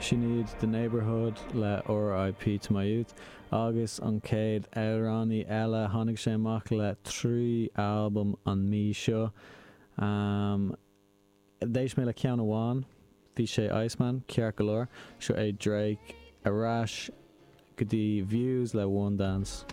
Sin iad The Neighbourhood le R.I.P. to my youth agus an chéad amhránaí eile, tháinig sé amach le 3 albam an mí seo. D'éist mé le ceann amháin, bhí sé Iceman, ceart go leor. Seo é Drake ar ais go dtí Views le One Dance.